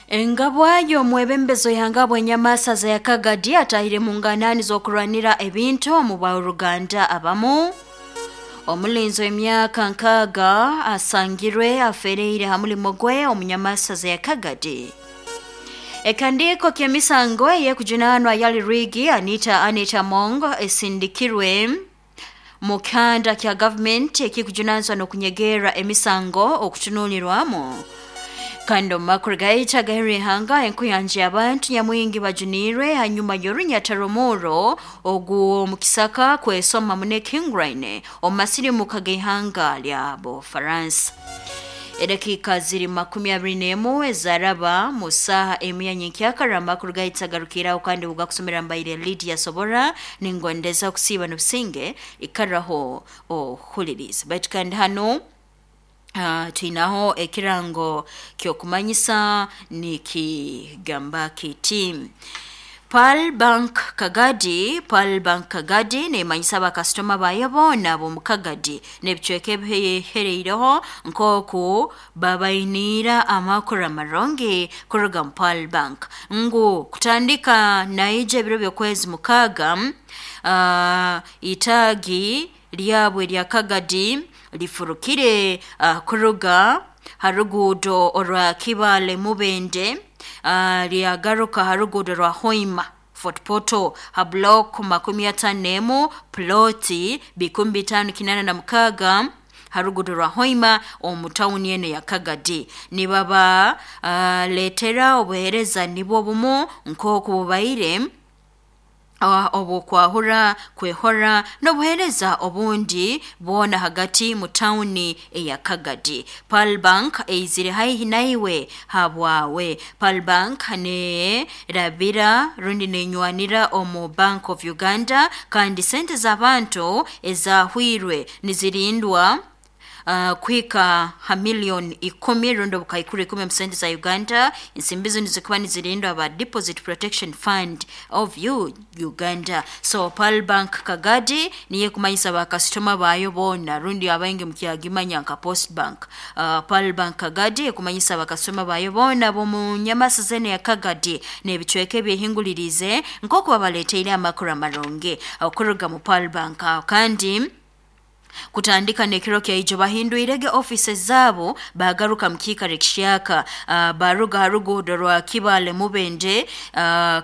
Engabwa y'omwebembezo yangabwa enyamasaza ya Kagadi atahire mu nganani z'okurwanira ebintu omu bauruganda abamu. Omulinzi w'emyaka 60 asangirwe afereire ha mulimo gwe omunyamasaza ya Kagadi. Ekandiko ky'emisango ey'ekujunanwa yali Rigi Anita Mong esindikirwe mu kanda kya gavumenti ekikujunanizwa n'okunyegera emisango okutunulirwamu. Kandi omu makuru gaita gaheri ihanga, enkuyanja y'abantu nyamwingi bajunirwe hanyuma y'orunyata ogu omu kisaka kwesoma mune Kingraine omu masirimuka g'ihanga lya Bufaransa. Edakika ziri 21 ezaraba mu saha emu ya nyenkyakara. Amakuru gaita garukiraho kandi bugakusomera mbaire Lydia Sobora, ningondeza kusiiba n'obusinge, ikaraho ohuliriza. Baitu kandi hano twinaho ekirango ky'okumanyisa nikigamba kiti: Pearl Bank Kagadi, Pearl Bank Kagadi nemanyisa abakasitoma bayo boona ab'omu Kagadi n'ebicweka ebihereireho nk'oku babainiira amakuru amarungi kuruga mu Pearl Bank ngu kutandika naija ebiro by'okwezi 6, itaagi lyabwe lya Kagadi lifurukire kuruga ha ruguudo orwa Kibale Mubende, lyagaruka ha ruguudo rwa Hoima Fort Portal ha block 51 ploti 5586 ha ruguudo rwa Hoima omu tawuni eno ya Kagadi. Nibaba letera obuheereza nibwo bumu nk'oku bubaire obwokwahura, kwehora n'obuheereza obundi bwona hagati mu tawuni eya Kagadi. Pearl Bank eizire haihi naiwe habwawe. Pearl Bank nerabira rundi nenywanira omu Bank of Uganda, kandi sente z'abantu ezahwirwe nizirindwa kuhika ha miliyoni 10 rundi obukaikuru 10 mu sente za Uganda. Ensimbi zinu zikuba nizirindwa aba Deposit Protection Fund of Uganda. So Pearl Bank Kagadi niye kumanyisa bakasitoma bayo boona, rundi abaingi mukyagimanya nka Post Bank. Pearl Bank Kagadi ekumanyisa bakasitoma bayo boona ab'omu nyamasa zene ya Kagadi n'ebicweka ebyehingulirize nk'oku babaleteire amakuru amarungi okuruga mu Pearl Bank. Kandi kutandika n'ekiro kyaijo bahindwirege offices zabo bagaruka mu kiikaro ekishyaka, baruga ha ruguudo rwa Kibale Mubende,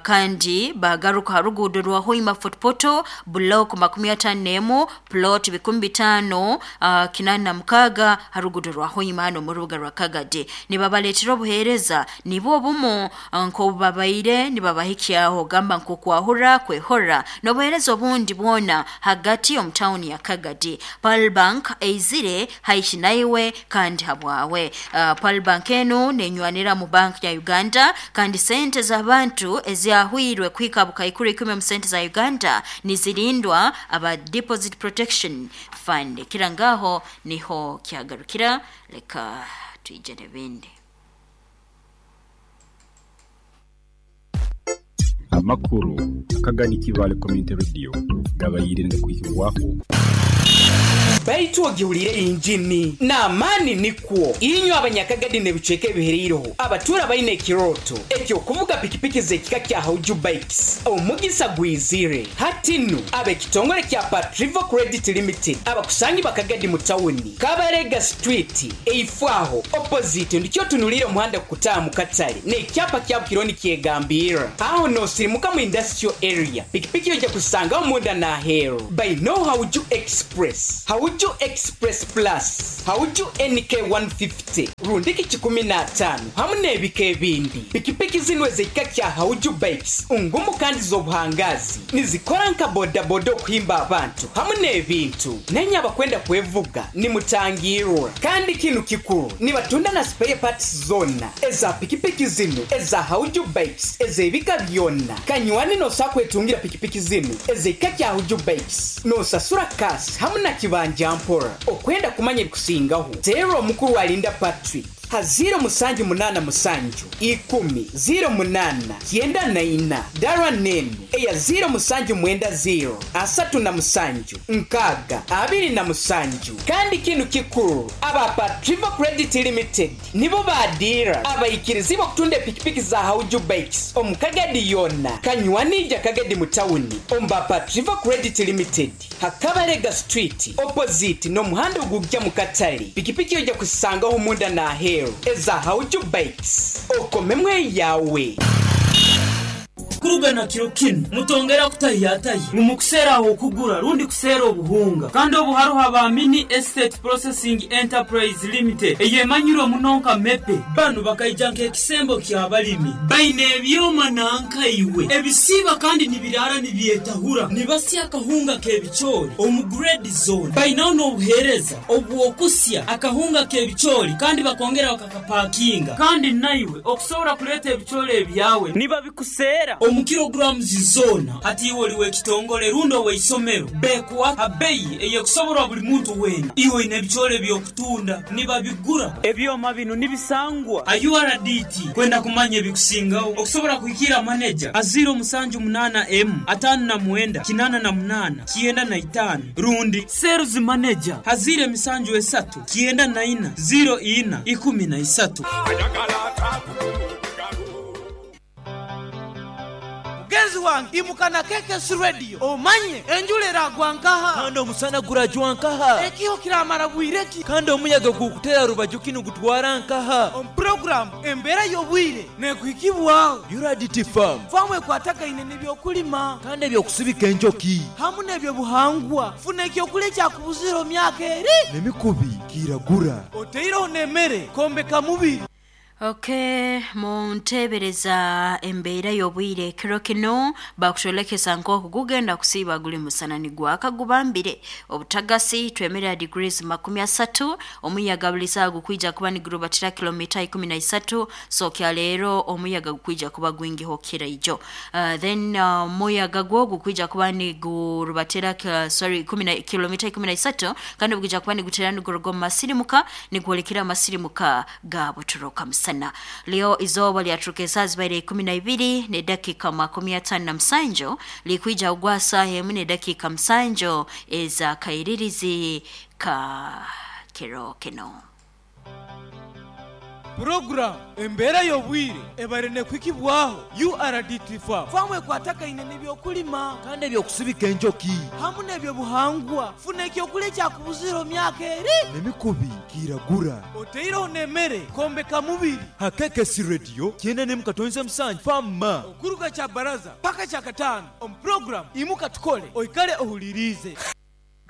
kandi bagaruka ha ruguudo rwa Hoima Fort Portal block 51 plot 5586 ha ruguudo rwa Hoima hano mu rubuga rwa Kagadi. Nibabaleetera obuheereza nibwo bumu nk'obu babaire nibabahikyaho, gamba nk'okwahura, kwehora n'obuheereza obundi bwona hagati omu tawuni ya Kagadi. Pearl Bank eizire haihi naiwe kandi habwawe. Pearl Bank enu nenywanira mu bank ya Uganda, kandi sente z'abantu ezahwirwe kuhika bukaikuru 10 mu sente za Uganda nizirindwa aba Deposit Protection Fund. Kirangaho niho kyagarukira, leka twije n'ebindi. Amakuru Akagadi Kibale Community Radio gabayire ngakuhikibwaho. Baitu ogiwulire injini n'amaani nikwo inywe abanyakagadi n'ebicweka ebihereireho abatuura baine ekirooto ekyokuvuga pikipiki z'ekika kya Hauju Bikes, omugisa gwizire hati nu. Ab'ekitongole kya Patrivo Credit Limited abakusangi bakagadi mu tawuni Kabarega Street eifwaho opposite ndikyo tunulire omuhanda kukutaaha mu katale n'ekyapa kyabo kironi kyegambirra aho nosirimuka mu industrial area. Pikipiki ojja kusangaho munda n'aheeru baino Hauju Express, Hauju Express Plus, Hauju NK 150 rundiki 15 hamu n'ebika ebindi. Pikipiki zinu ez'ekika kya Hauju Bikes ngumu kandi z'obuhangazi, nizikora nka bodaboda okuhimba abantu hamu n'ebintu. Nenye abakwenda kwevuga nimutangirwa. Kandi kinu kikuru, nibatunda na spare parts zonna eza pikipiki zinu eza Hauju Bikes ez'ebika byonna. Kanywani nosa kwetungira pikipiki zinu ez'ekika kya Hauju Bikes nosasura kasi hamu na kibanja mpora. Okwenda kumanya ebikusingaho, teera omukuru Alinda Patrick. Ha 0787 10 08 94. Dara nenu eya 0790 37 6 27. Kandi kinu kikuru, aba Patriva Credit Limited nibo badira abaikirizi okutunda epikipiki za Hauju Bikes omu Kagadi yona kanywanija Kagadi mu tawuni omba Patriva Credit Limited Hakabalega Street opposite n'omuhanda ogujja mu katale. Pikipiki ojja kusangaho munda n'aheeru eza Hauju Bikes, okomemwe yawe. Kurugana kiro kinu mutongera kutahiyatahi mumukuseera aho okugura rundi kuseera obuhunga, kandi obu haruho aba Mini Estate Processing Enterprise Limited eyemanyirwe muno nka Mepe. Banu bakaija nk'ekisembo ky'abalimi, baine ebyoma nankaiwe ebisiiba kandi nibiraara nibyetahura, nibasya akahunga k'ebicoori omu grade zone. Bainaho n'obuheereza obw'okusya akahunga k'ebicoori kandi bakongera bakakapakinga, kandi naiwe okusobora kuleeta ebicoori ebyawe nibabikuseera omu kilograms zona. Hati iwe oli w'ekitongole rundi ow'eisomero, bekuwa ha beyi eyekusoborwa buli muntu weena. Iwe oine ebicoori eby'okutunda, nibabigura. Ebyoma binu nibisangwa ha URDT. Kwenda kumanya ebikusingaho okusobora kuhikira maneja ha 078 M 59 88 95 rundi sales manager ha 073 94 04 13. Mugenzi wange, imuka na KKS Radio omanye enjura eragwa nkaha, kandi omusana gurajwa nkaha, ekiho kiramara bwire ki, kandi omuyaga gukutera rubaju kinu gutwara nkaha. Omu puroguramu embeera y'obwire nekuhikibwaho URDT Farm, famu ekwatagaine n'ebyokulima kandi ebyokusibika enjoki hamu n'ebyobuhangwa. Funa ekyokulya ekyakubuzire omu myaka eri n'emikubi kiragura, oteireho n'emere kombeka mubiri. Okay, muntebereza embeera y'obwire ekiro kino bakutwolekesa nk'oku gugenda kusiiba guli musana nigwaka gubambire obutagasi twemerera degrees 30, omuyaga buli saawa gukwija kuba nigurubatira kilomita 13. So kya leero omuyaga gukwija kuba gwingiho kiraijo. Then omuyaga gwo gukwija kuba nigurubatira kilomita 13, kandi gukwija kuba nigutera niguruga omu masirimuka nigwolekera amasirimuka ga Butoroka musana. Leo izoba lyaturuka esaa zibaire 12 ne dakika 57, likwija ugwa saa emu ne dakika 7 eza kairirizi ka kiro kino. Puroguramu embeera y'obwire ebare nekuhikibwaho URDT Farm, famu ekwatagaine n'ebyokulima kandi ebyokusibika enjoki hamu n'ebyobuhangwa. Funa ekyokulya ekyakubuzire omu myaka eri n'emikubi kiragura, oteireho n'emere kombeka mubiri. Ha KKS Radio 97.7 Farm, okuruga kya baraza paka kya katano omu puroguramu imuka tukole, oikale ohulirize.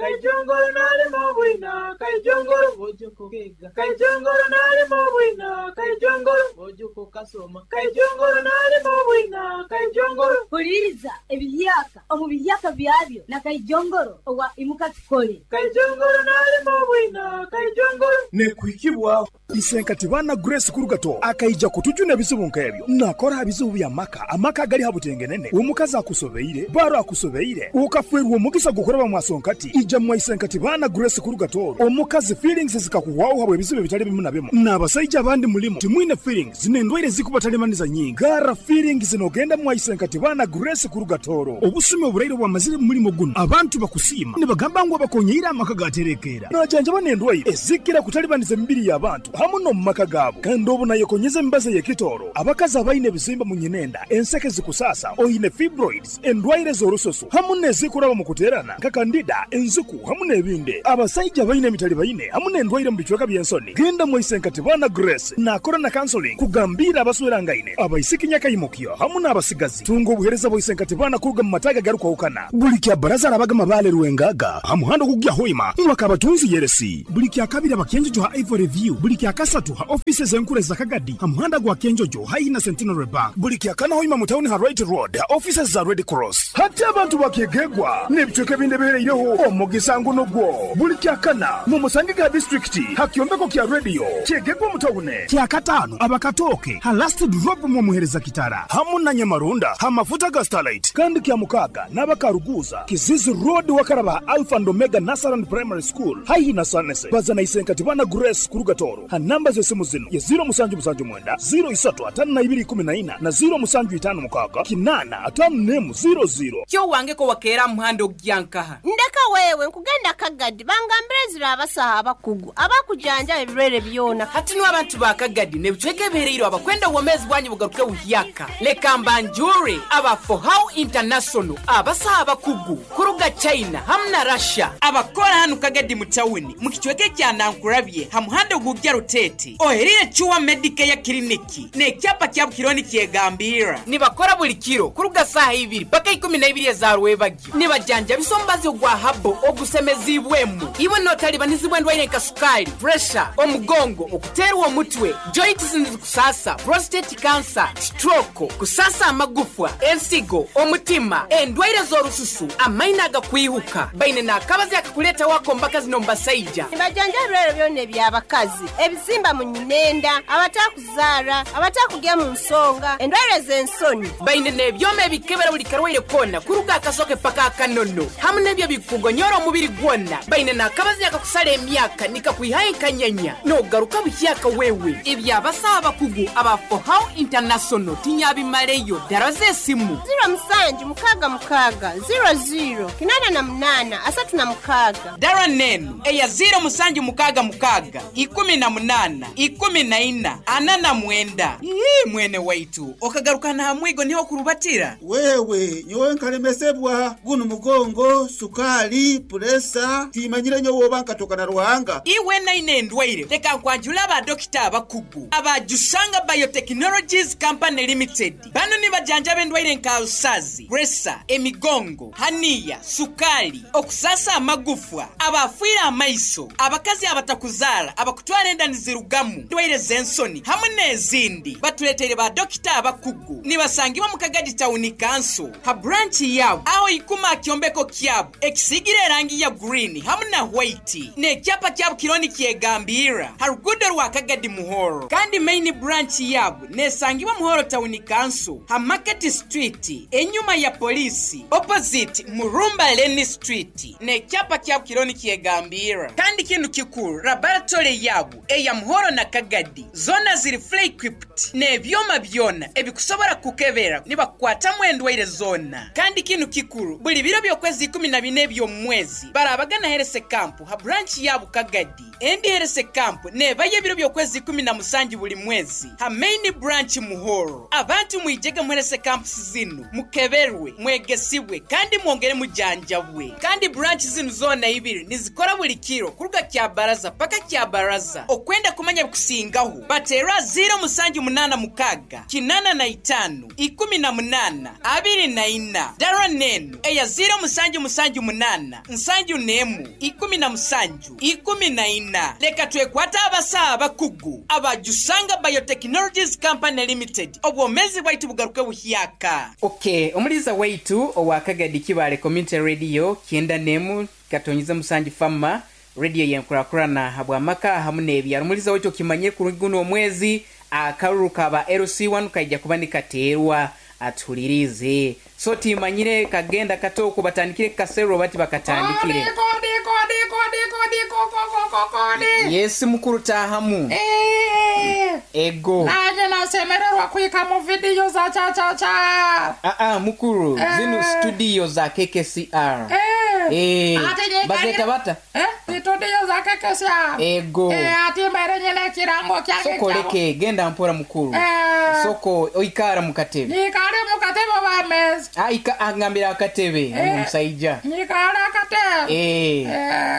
Kaijongoro nalimo bwina, kaijongoro bojuko kega, kaijongoro nalimo bwina, kaijongoro bojuko kasoma, kaijongoro nalimo bwina, kaijongoro. Huliriza ebiyaka omu biyaka byabyo na kaijongoro owa imuka tukole. Kaijongoro nalimo bwina, kaijongoro. Nekuhikibwaho Isenkati bana Grace Kurugato akaija kutujuna ebizibu nk'ebyo nakora ebizibu bya maka amaka gali habutengenene omukazi akusobeire baro akusobeire ukafwerwa omugisa gukoraba mwasonkati ija mwaisenkati bana Grace Kurugato omukazi feelings zikakuwaho habwe ebizibu bitali bimu na bimu n'abasaija abandi mulimu timwine feelings n'endwaire zikubatalemaniza nyingi gara feelings nogenda mwaisenkati bana Grace Kurugatoro obusumi oburaire bwamazire mu mulimo guno abantu bakusiima nibagamba ngu abakonyeire amaka gaterekera najanjaba n'endwaire ezikira kutalibaniza emibiri y'abantu hamu n'omu maka gaabo. Kandi obu nayekonyeza emibazi y'ekitooro abakazi abaine ebizimba mu nyinenda enseke zikusasa oine fibroids endwaire z'orusoso hamu n'ezikuraba mu kuteerana nka kandida enzuku hamu n'ebindi. Abasaija baine emitali baine hamu n'endwaire mu bicweka by'ensoni genda mwaisenkati bana Grace nakora na counseling kugambira abaswerangaine abaisiki nyakaimukyo hamu n'abasigazi. Tunga obuhereza bwaisenkati bana kuruga mu mataga garukwahukana buli kya baraza arabaga mabale rwengaga hamuhanda okugya hoima mwakabatunzi yeresi buli kya kabiri abakenjojo ha Ivory View buli kya kasatu ha offices enkure za Kagadi hamuhanda gwa Kenjojo haina Centenary Bank buli kya kana hoima mu town ha Right Road ha offices za Red Cross. Hati abantu bakegegwa n'ebicweka ebindi ebihereireho. Omugisa nguno gwo buli kyakana mu musange ga disitulikiti ha kyombeko kya rediyo kyegegwa omutawune. Kyakataano abakatooke ha last drop mu muhereza kitara hamu na Nyamarunda ha mafuta ga Starlight. Kandi kya mukaaga n'abakaruguza Kizizi Road wakaraba Alpha and Omega Nursery Primary School haihi na Sanese. Baza na isenkati bana Grace kuruga Toro ha namba z'esimu zino ye 0779 035214 na 0756 85400. Kyo wange ko wakeera muhando gyankaha. Ndeka wewe nkugenda Kagadi bangambire zira abasaha abakugu abakujanja ebirwere byona. Hati no abantu ba Kagadi ne bicweke ebihereire abakwenda obwomezi bwanyu bugaruke buhyaka. Leka mbanjure aba For How International abasaha abakugu kuruga China hamwe na Russia abakora hano Kagadi mu tawuni mu kicweke kya Nankurabye ha muhando gugya Rutete oherire Chuwa Medicare Clinic ne kyapa kya Bukironi kyegambira nibakora buli kiro kuruga saha ibiri paka 12 za rwebagyo nibajanja bisombazi ogwa habo ogusemezibwemu iwe notalibanizibwe ndwaire nka sukali, pressure, omugongo, okuterwa omutwe, joints kusasa, prostate cancer, stroke, kusasa amagufwa, ensigo, omutima, endwaire z'orususu, amaina agakwihuka baine n'akabazi akakuleta wako mbaka zino mbasaija. Nibajanja ebirwere byona eby'abakazi, ebizimba mu nyinenda, abatakuzaara, abatakugya mu nsonga, endwaire z'ensoni. Baine n'ebyoma ebikebera buli karwaire kona kuruga akasoke paka akanono hamwe n'ebyo bikugonyora omubiri gwona. Baine n'akabazi akakusala emyaka nikakwihayo enkanyanya n'ogaruka buhyaka wewe. Ebyabasaha abakugu aba For How International tinyabimaleyo. Dara z'esimu 0766 00 88 36. Dara nenu eya 0766 18 14 49. Ii mwene waitu okagaruka na hamwigo niho kurubatira. Wewe nyowe nkalemesebwa guno mugongo, sukali, puresa timanyire nyowe oba nkatoka na Ruhanga. Iwe naine endwaire leka nkwanjula aba dokita abakugu aba Jusanga Biotechnologies Company Limited. Bano nibajanja b'endwaire nka usazi, presa, emigongo, haniya, sukali, okusasa amagufwa, abafiira amaiso, abakazi abatakuzara, abakutwara enda nizirugamu, ndwaire z'ensoni hamwe n'ezindi. Batuleteire ba dokita abakugu nibasangibwa mu Kagadi Town Council ha branch yabo aho ikuma kyombeko kyabo ekisigire erangi ya green hamwe na white n'ekyapa kyabo kironi kyegambira ha rugudo rwa Kagadi Muhoro. Kandi main branch yabo nesangibwa Muhoro Town Council ha Market Street enyuma ya polisi opposite Murumba Lane Street n'ekyapa kyabo kironi kyegambira. Kandi kintu kikuru laboratory yabo eya Muhoro na Kagadi zona ziri fully equipped n'ebyoma byona ebikusobora kukebera nibakwatamu endwaire zona. Kandi kintu kikuru buli biro by'okwezi 14 by'omwezi barabagana herese camp ha branch yabo Kagadi. Endi herese camp nebaye ebiro by'okwezi 17 buli mwezi ha main branch Muhoro. Abantu mwijege muherese camps zinu mukeberwe, mwegesibwe kandi mwongere mujanjabwe. Kandi branch zinu zona ibiri nizikora buli kiro kuruga kya baraza paka kya baraza. Okwenda kumanya kusingaho batera 0786 85 18 24. Dara nenu eya 0778 71 17 14. Leka twekwata abasaha abakugu aba Jusanga Biotechnologies Company Limited. Obwomezi bwaitu bugaruke buhyaka. Okay, omuliza waitu owa Kagadi Kibale Community Radio kyenda nemu katonyiza musanji fama radio yenkurakurana habwamaka hamwe n'ebyaro. Omuliza waitu okimanye kuruguno omwezi akaruru kaba LC1 kaija kuba nikateerwa atulirize. So timanyire kagenda katoko batandikire kasero bati bakatandikire. Yes mukuru tahamu. Ego. Naje nasemererwa kuika mu video za cha cha cha. Mukuru zinu studio za KKCR. Bazeta bata. Studio za KKCR. Ego. Ati mbere nyene kirango kyange. Soko leke genda mpora mukuru. Soko oikara mukatebe. Nikare mukatebe wa meza. Aika angambira akatebe omusaija. Nikare akatebe.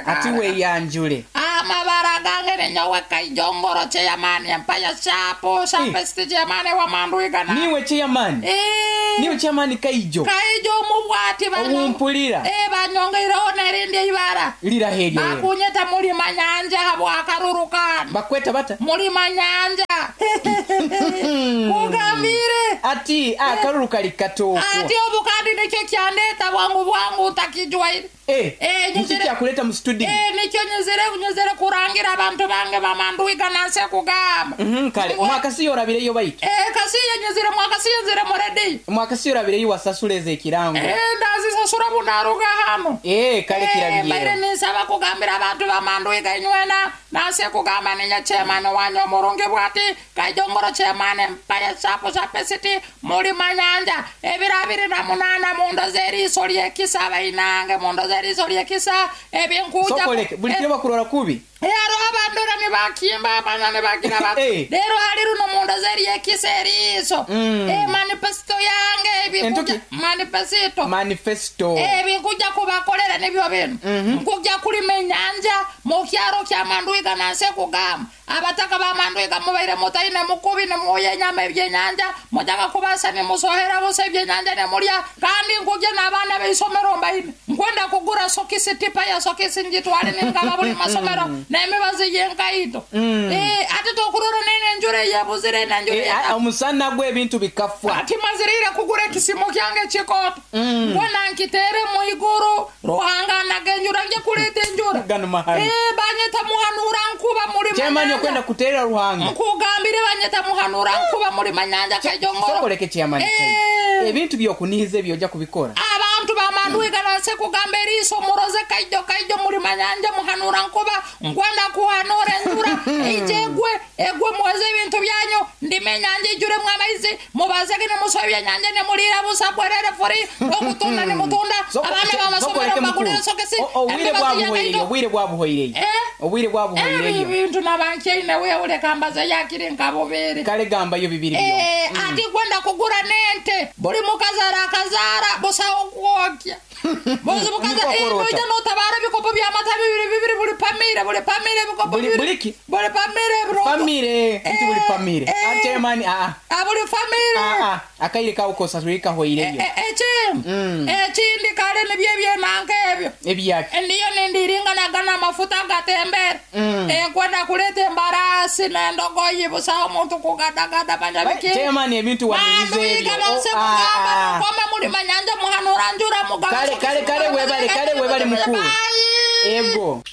Ati we yanjule. Amabara gange ninyowe Kaijongoro chairman Empire Shapo Shapesti chairman wa Manduigana. Niwe chairman. Niwe chairman Kaijo. Kaijo mubwati banyo. Ompulira. Banyongeiro nerindi ibara. Lira helyo. Bakunyeta mulima nyanja habwa karurukan. Bakweta bata. Mulima nyanja. Kugambire. Ati akaruru kali katoko. Ati obu kandi nikyo kyandeeta bwangu bwangu ntakijwaire. Niki kyakuleta mu studio? Nikyo nyizire kurangira abantu bange bamanduiga nanse kugamba. Kale mwakasiyo orabireyo baitu. Kasiyo nyizire mwakasiyo nzire muredi. Mwakasiyo orabireyo wasasuleze ekirango. Ndazisasura bunaruga hano. Kale kirabiriyo. Baire ninsaba kugambira abantu bamanduiga inywena nanse kugamba ninya chairman wanyu omurungi bwati Kaijongoro chairman empaya sapo sapesiti muri manyanja ebiro 28 mundo zeriso lyekisa bainange mundo zeriso lyekisa ebinkuja sokoleke buli kiro bakurora kubi. Haro abandora ne bakimba abana ne bagira bati lero hari runo mundo zeryekisa eriso manifesto yange ebinkuja manifesto ebinkuja kubakolera nibyo bino. Nkuja kulima enyanja mu kyaro kya Manduiga nanse kugamba abataka ba Manduiga mubaire mutaine mukubi ne muye nyama ebyenyanja mujaga kubasa ne musohera bose ebyenyanja ne mulya kandi nkuja n'abaana b'isomero mbaine nkwenda kugura sokisi tipa ya sokisi njitwale ningaba buli masomero n'emibazi yenkaito. Ate tokurora nene njure yebuzire na njure omusana gw'ebintu bikafwa. Ati mazirire kugura ekisimo kyange kikoto mbona nkitere mu iguru Ruhanga nagenjura nje kuleta enjura. Banyeta muhanura nkuba muri manyanja kwenda kuterera Ruhanga nkugambire banyeta muhanura nkuba muri manyanja Kaijongoro. Sokoleke chairman ebintu byokunihiza ebyo kubikora abantu bamanduiga nase kugamba eriso muroze Kaijo muri manyanja muhanura nkuba nkwenda kuhanura enjura ijegwe egwe muweze ebintu byanyu ndimenyanja ijure mwamaizi mubazege ne musobya nyanja ne mulira busa bwerere furi okutunda ne mutunda abana bamasomero bagulira sokesi. Obwire bwabuhoireyo obwire bwabuhoireyo ebintu nabankeine we ulekambaza yakiri nkabobere kale gamba yo bibiri byo. Ati kwenda kugura nente buli mukazara akazara busa okwokya bozi mukaza inoja notabara bikopo bya mata bibiri buli pamire bikopo bibiri buliki buli pamire bro pamire nti buli pamire chairman buli famire akaire ka ukosa tulika hoireyo. Ekindi kale nibyo byenanka ebyo ebyaki ndiyo nindiringa nagana amafuta gatembere nkwenda kuleta embarasi n'endogoyi busa omuntu kugadagada banyabiki. Chairman ebintu wanize ebyo koma muri manyanja muhanura njura mugaba. Kale webale mukuru. Ego.